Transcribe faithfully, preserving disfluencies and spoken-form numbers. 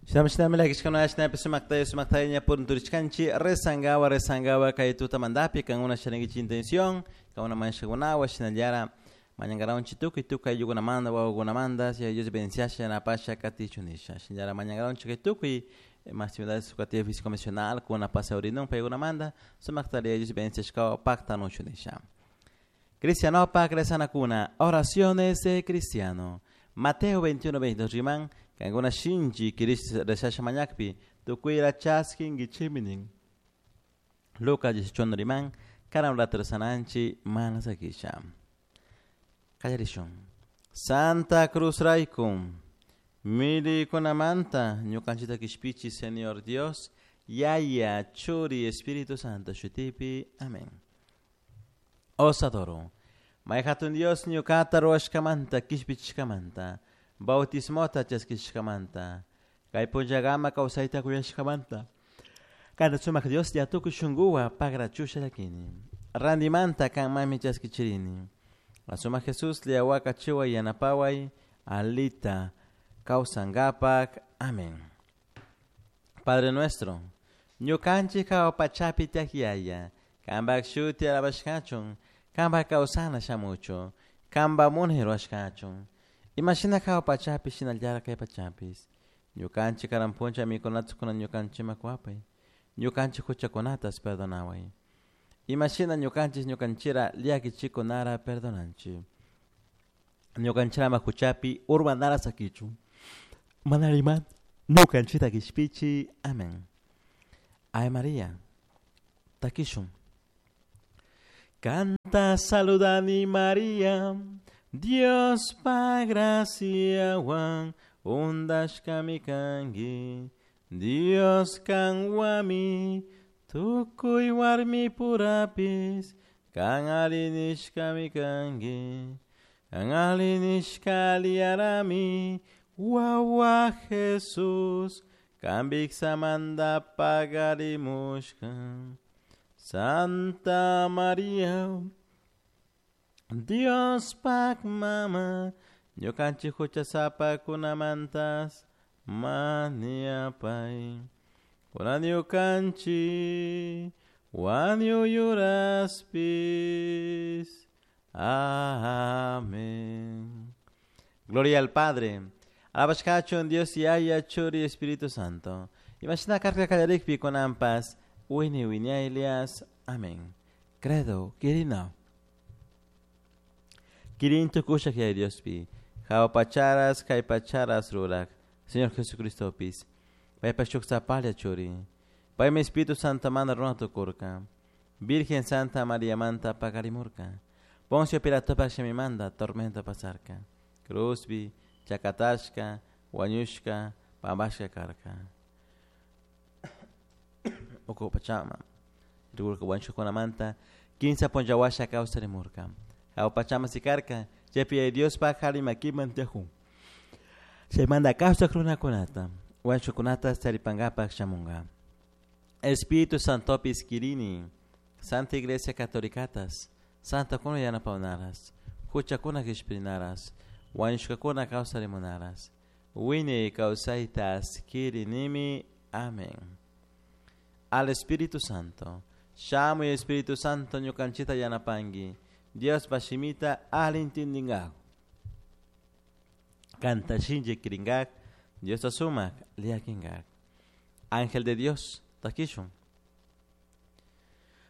Shinami lakishkuna shinapi sumaktaya sumaktaya ña punturishkanchik rezangawa rezangawa kay tutamantapi kankuna charinkichik intención kankuna mañashkakunawan shinallara mañankaranchik tukuy tukuy ayllukunamanta wawakunamanta Yaya Dios bendiciasha yanapasha katichun nisha shinallara mañankaranchik kay tukuy actividades educativas físico emocional kuna pasaurinun paykunamanta sumaktalla Yaya Dios bendiciashkawan paktanuchun nisha. Cristianopak rezanakuna, oraciones de cristiano. Mateo veintiuno veintidós riman, kankuna shinchi kirish rezasha mañakpi, tukuyra chaskinkichikmi nin. Lucas dieciocho riman, karan rato rezananchik mana sakisha. Qallarishun. Santa Cruz rayku, milikunamanta ñukanchikta kishpichi Señor Dios, Yaya, Churi, Espíritu Santo shutipi. Amén. Os adoro. May hatun Dios ñuqata ruwashkamanta kishpichishkamanta, bautismota chaskishkamanta, kay punllakama kawsayta kuyashkamanta. Kanta sumak Dios ya tukuy shunkuwan pagrachusha llakini. Randimanta kanmanmi chaskichirini. Sumak Jesús liawakachiway yanapaway alita kawsankapak. Amén. Padre nuestro, ñukanchik hawa pachapi tiyak Yaya, kanpak shuti alabashkachun, kanpak kawsana shamuchun, kanpak munay ruwashkachun. Imashina hawa pachapi shinallara kay pachapis. Ñukanchik karan puncha mikunata kunan ñukanchikman kuwapay. Ñukanchik huchakunatas perdonaway. Imashina ñukanchik ñukanchira llakichikunara perdonanchik. Ñukanchirama huchapi urmanara sakichun. Manariman ñukanchikta kishpichi. Amén. Ave María, takishun. Canta saludani María, Dios pa graciawan undashkami kanki, Dios kanwami tukuy warmi purapis, kan alli nishkami kanki, kan alli nishka aliyarami, wawa Jesús, kan viksamanta pagarimushka. Santa María, Dios pak mama, ñukanchik huchasapakunamantas mañapay. Kunan ñukanchik wañuyuraspis. Amén. Gloria al Padre. Alabashkachun Dios Yaya, Churi, Espíritu Santo. Imashina karka kallarikpi kunanpas, wini wiñaylias. Amén. Credo, kirina. Kirin tukushak Yaya Diospi. Hawa pacharas, kay pacharas rurak. Señor Jesucristo pis. Paypa shuk sapalla churi. Paymi Espíritu Santo manda runa tukurka. Virgen Santa María manta pakarimurka. Poncio Pilatopak shimimanta tormento pasarka. Cruzbi, chakatashka, wañushka, pampashka karka. Uku pachama. Rikurka wañushkakunamanta, kinsa punlla kawsarimurka. Hawa pachama sikarka, chaypi Yaya Diospak alli makiman tiyakun. Chaymanta kawsak runakunata, wañushkakunata charipankapak shamunka. Espíritu Santopis kirini, Santa Iglesia Católicatas, Santa kuna yanapawnaras, huchakuna kishpirinaras, wañushkakuna kawsarimunaras, wiñay kawsaytas kirinimi. Amén. Al Espíritu Santo, shamuy Espíritu Santo ñukanchita yanapanki, Dios shimita alli intindingak. Kanta shinchi kiringak, Dios sumak liakinkak. Ángel de Dios, takishun.